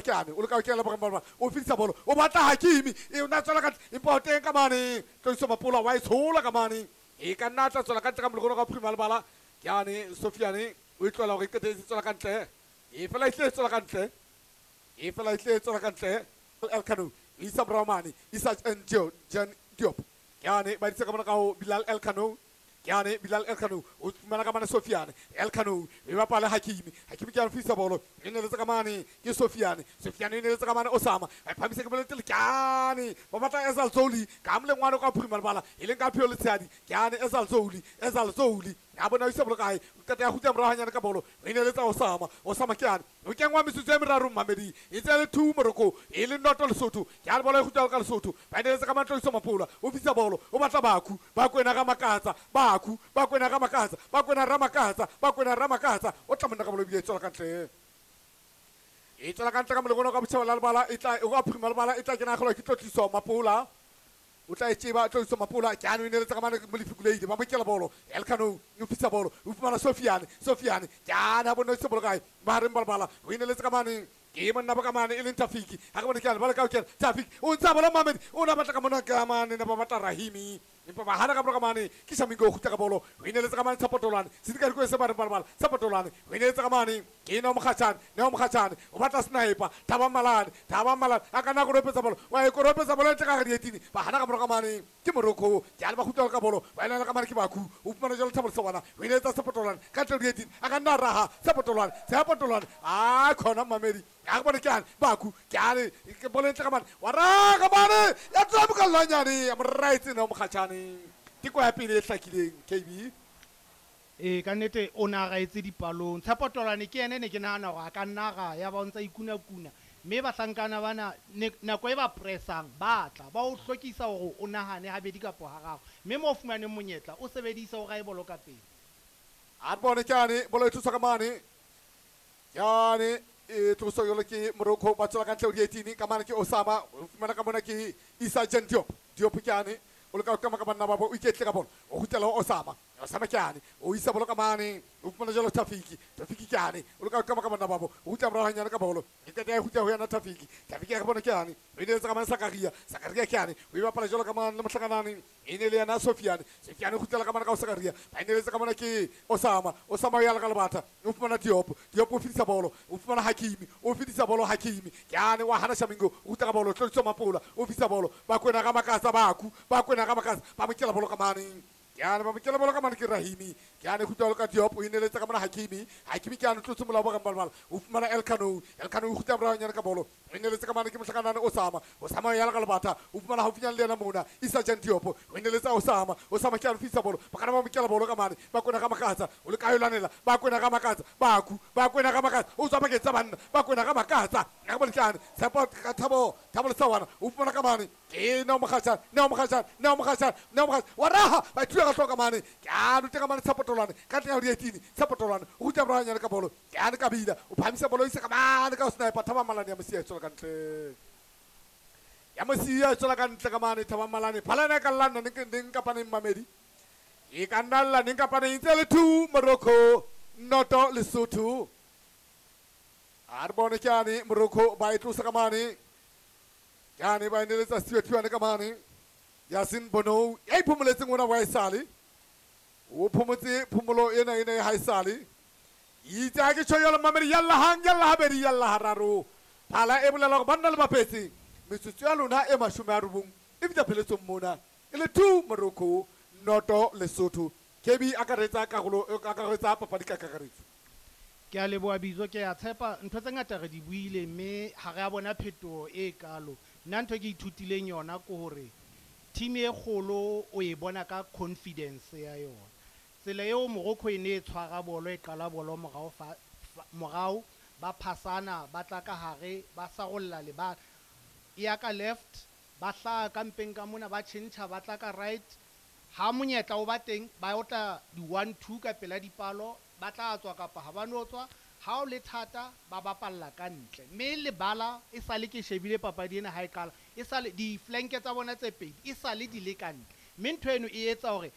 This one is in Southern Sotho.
Ke ane o leka ho kena bogareng ba lebala, o fetisa bolo, o batla Hakimi, e o na tswela ka ntle, empa o teng ka mane. Tloiso Mapola wa e tshola ka mane, e ka nna tla tswela ka ntle ka molekgono ka bophirima lebala. Ke ane Sofiane o e tlohela hore e qetetse tswela ka ntle, e fela e tle tswela ka ntle, e fela e tle tswela ka ntle. Elkano isa morao mane, Isa Ndio Jan Diop. Ke ane ba ditse ka mona ka ho Bilal Elkano. Ke ane Bilal Elkano o fumana ka mane Sofiane. Elkano e bapala Hakimi, Hakimi ke a fisa bolo, e neletse ka mane ke Sofiane, Sofiane e neletse ka mane Osama, a phamise ke boletse ke ane ba batla Ezal Zoli ka molengwane ka phirima lebala, e leng ka pheo letshehadi. Ke ane Ezal Zoli, Ezal Zoli a bona o isa bolo kae, o qeta ya kgutla morao hanyane ka bolo, e neletsa Osama, Osama ke ane o kengwa metsotso e meraro mmamedi, e tse le 2 Morocco, e le 0 Lesotho. Ke a bolo e kgutla ka Lesotho, ba neletsa ka matloiso Mapola, o fisa bolo, o batla Baku, Bakwena ga Makatsa, Baku, Bakwena ga Makatsa, Bakwena ra Makatsa, Bakwena ra Makatsa, o tla monna ka bolo ebile e tswela ka ntle, e tswela ka ntle ka molekono ka botjhaba la lebala, e tla o ka phirima lebala, e tla kena kgolwa ke tlotliso Mapola, o tla e tseba tlotliso Mapola. Ke ano e neletsa ka mane Molefi Kuleile, ba mokela bolo, Elkano o fisa bolo, o fumana Sofiane, Sofiane ke ana bona se bolo kae mahareng ba lebala, o e neletsa ka mane ke monna ba ka mane e leng Tafiki, ha ke bone ke a lebala ka o kena Tafiki o ntsa bolo mamedi, o na batla ka mona ka mane na ba batla Rahimi, empa ba hana ka bolo ka mane ke Shamingo o kgutla ka bolo, o e neletsa ka mane Tshapotolwane, sedika dikoe se ba re balabala Tshapotolwane, o e neletsa ka mane ke Neo Mokgatjhane, Neo Mokgatjhane o batla sniper Thabang Malane, Thabang Malane a ka nna koropetsa bolo, wa e koropetsa bolo ntle ka gare dietini, ba hana ka bolo ka mane ke Morocco. Ke a le ba kgutla ka bolo, ba elana ka mane ke Baku, o fumana jalo Thabo Lesawana, o eletsa Tshapotolwane ka ntle dietini, a ka nna raha Tshapotolwane, Tshapotolwane a khona mamedi, a bone ke ane Baku, ke ane ke bolo ntle ka mane, wa raha mane ya tswa bokalwanyane ya moraetse Neo Mokgatjhane, teko ya pele e hlakileng KB. E ka nnete o na raetse dipalong. Tshapotolwane ke ene ne ke nahana hore a ka nna ra ya ba o ntsa ikuna-kuna, mme bahlankana bana nako e ba pressang ba tla ba o hlokisa hore o nahane habedi kapo hararo, mme mo o fumaneng monyetla o sebedise o rae bolo ka pele. A re bone ke ane bolo e tloswa ka mane, ke ane e tloswa jalo ke Morocco, ba tswela ka ntle ho dietini ka mane ke Osama, o fumana ka mona ke Isa Jan Diop, Diop ke ane o leka ho kama ka banna ba bo, o iketle ka bolo, o kgutlela ho Osama, Osama ke ane o isa bolo ka mane, o fumana jalo Tafiki, Tafiki ke ane o leka ho kama ka banna ba bo, o kgutla morao hanyane ka bolo, e qeta ya kgutla ho yena Tafiki, Tafiki ya bona ke ane o ineletsa ka mane Sakaria, Sakaria ke ane o e bapala jalo ka mane le mohlakanane, e ne le yena Sofiane, Sofiane o kgutlela ka mane ka ho Sakaria, ba ineletsa ka mona ke Osama, Osama o ya le ka lebata, o fumana Diop, Diop o fetisa bolo, o fumana Hakimi, o fetisa bolo Hakimi, ke ane wa hana Shamingo, o kgutla ka bolo, Tlotliso Mapola, o fetisa bolo, Bakwena ga Makatsa, Baku, Bakwena ga Makatsa, ba mokela bolo ka mane, ke ane ba mokela bolo ka mane ke Rahimi, ke ane kgutla ka Diop, o ineletsa ka mona Hakimi, Hakimi ke ane tlotse molao ba gambalbala, o fumana Elkano, Elkano o kgutla morao nyane ka bolo, o ineletsa ka mane ke mohlakanane Osama, Osama o ya ka lebata, o fumana haufinyane le yena mona Isa Jan Diop, o ineletsa Osama, Osama ke ane fisa bolo, ba kana ba mokela bolo ka mane, Bakwena ga Makatsa, o le ka yolanela, Bakwena ga Makatsa, Baku, Bakwena ga Makatsa, o tswa bakeng tsa banna, Bakwena ga Makatsa, ga bone ke ane Tshepo ka Thabo, Thabo Lesawana, o fumana ka mane ke Neo Mokgatjhane, Neo Mokgatjhane, Neo Mokgatjhane, Neo Mokgatjhane, wa raha, ba thuya ka hloka mane, ke a rute ka mane Tshapotolwane, ka ntle ya dietini, Tshapotolwane, o kgutla morao hanyane ka bolo, ke ane Kabila, o phamisa bolo ise ka mane ka sniper, Thabang Malane ya Mosia e tswela ka ntle, ya Mosia e tswela ka ntle ka mane, Thabang Malane, phalana e ka lla nna neng neng kapa neng mamedi, e ka nna lla neng kapa neng, tse le 2 Morocco, 0 Lesotho. A re bone ke ane Morocco ba e tlosa ka mane, ke ane ba e neletsa Stewart Thuane ka mane, Yasin Bono ya iphomoletseng ona wa esale, o phomotse phomolo ena ena e haesale, itse ha ke tjho jwalo mamedi, yalla hang, yalla habedi, yalla hararo, phala e bolela hore banna le bapetse metsotso ya lona e 90 e fihla pheletsong mona, e le 2 Morocco, 0 Lesotho. KB akaretsa karolo, akaretsa papadi ka kakaretso. Ke a leboha Bizo, ke a tshepa ntho tse ngata re di buile mme ha re a bona phetoho e kalo. Nna ntho e ke ithutileng yona ke hore team e kgolo o e bona ka confidence ya yona. Tsela eo Morocco e ne e tshwara bolo, e qala bolo morao fa, fa, morao, ba phasana, ba tla ka hare, ba sarolla lebala. E ya ka left, ba hlaha ka mpeng ka mona, ba tjhentjha, ba tla ka right. Ha monyetla o ba teng, ba otla di 1-2 ka pela dipalo, ba tla tswa kapa ha ba no tswa. Ha o le thata, ba bapalla ka ntle. Mme lebala e sale ke shebile papadi ena ha e qala, e sale di-flank tsa bona tse pedi, e sale di le ka ntle. Mme ntho eno e etsa hore